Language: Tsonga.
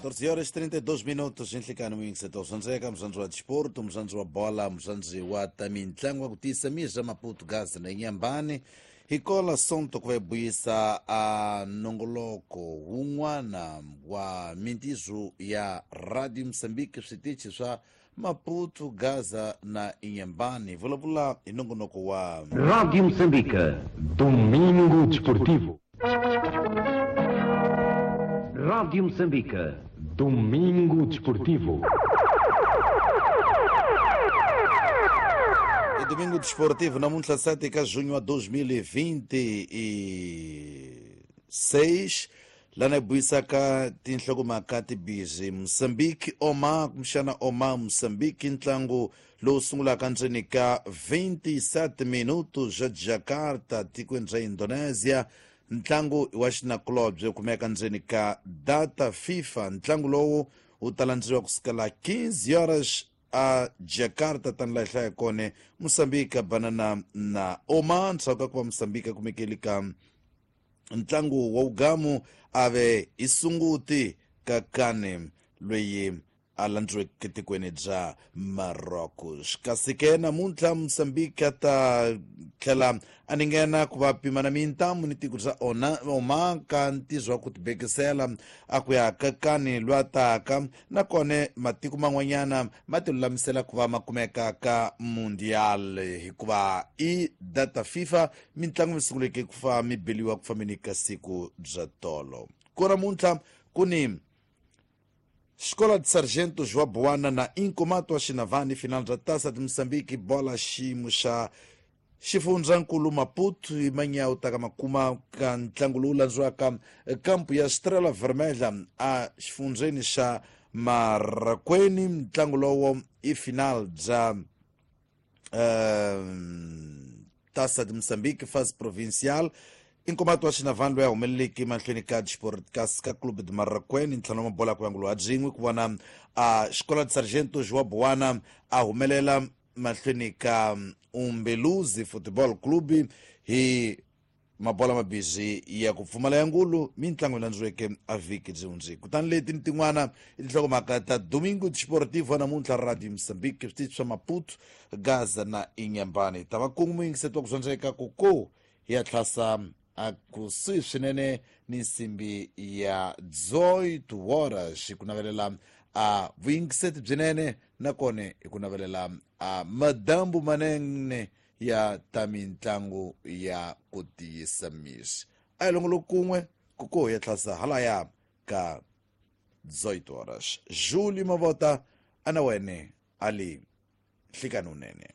14 horas 32 minutos nhlikani muyingiseti wa swandzeka muzandzi wa disporto, muzandzi wa bola, muzandzi wa ta mintlangu wa ku tiyisa mizwa Maputo, Gaza na Inhambane. Hi kola sonto ku va hi buyisa a nongoloko wun'wana wa mintizo ya Radio Mozambique, switichi swa Maputo, Gaza na Inhambane. Vulavula hi nongonoko wa Rádio Moçambique. Domingo Desportivo. Rádio Moçambique. Domingo Desportivo. I Domingo Desportivo namuntlha 7 ka junho wa 2026, lana hi buyisaka tinhlokomhaka tibizi Moçambique Oma, kumbexana Oma Moçambique, ntlangu lowu sungulaka ndzeni ka 27 minutos ja Jakarta, tikweni ra Indonesia. Ntlangu wa xinakulobye kumeka ndzeni ka data FIFA. Ntlangu lowu wu ta landziwa kusukela 15 horas a Jakarta, tani laha hi hlaya kone Moçambique banana na Oman. Ndzhaku ka ku va Moçambique kumekeli ka ntlangu wa ugamu, ave i sunguti ka kane loyi a landziweke tikweni bya Marocos. Kasi ke namuntlha Moçambique a ta tlhela a ningena ku va pimana mintamu ni tiko bya Oman ka ntizo wa ku tibekisela a ku ya ka kani lwa taka, nakona matiko man'wanyana ma ti lulamisela ku va ma kumeka ka Mundial, hikuva i data FIFA mitlangu mi sunguleke ku fa mi beliwa ku fambeni ka siku bya tolo. Ku namuntlha ku ni Escola de Sargento João Buana na Incomato wa Xinavani, final bya Taça de Moçambique, bola xiyimo xa xifundzankulu Maputo. Hi manyawu ta ka makuma ka ntlangu lowu landziwaka kampu ya Estrela Vermelha a xifundzeni xa Marakweni. Ntlangu lowo i final bya Taça de Moçambique fase provincial. Inkomato wa Xinavani loyi a humeleleki mahlweni ka Sport ka Clube de Marraquene, ntlhanu wa mabola ku yangulo ha byin'we, ku vona a Xikola de Sargento Joa Buana a humelela mahlweni ka Umbeluzi Football Club hi mabola mabisi ya ku pfumala ya ngulu. Mintlangu yi landziweke a vhiki byi hundzi. Kutani leti ni tin'wana i tinhlokomhaka ta Domingo Desportivo namuntlha, Radio Mozambique, switichi swa Maputo, Gaza na Inhambane. Ta va kungu muyingiseti wa ku dyondzeka ku ko hi ya tlhasa a kusuhi swinene ni nsimbi ya 18 horas. Hi ku navelela a vuyingiseti byinene, nakona hi ku navelela a madambu manene ya ta mintlangu ya ku tiyisa misi. A hi longolo kun'we ku ko ya tlhasa halaya ka 18 horas. Juli Mavota ana wene ali nhlikani unene.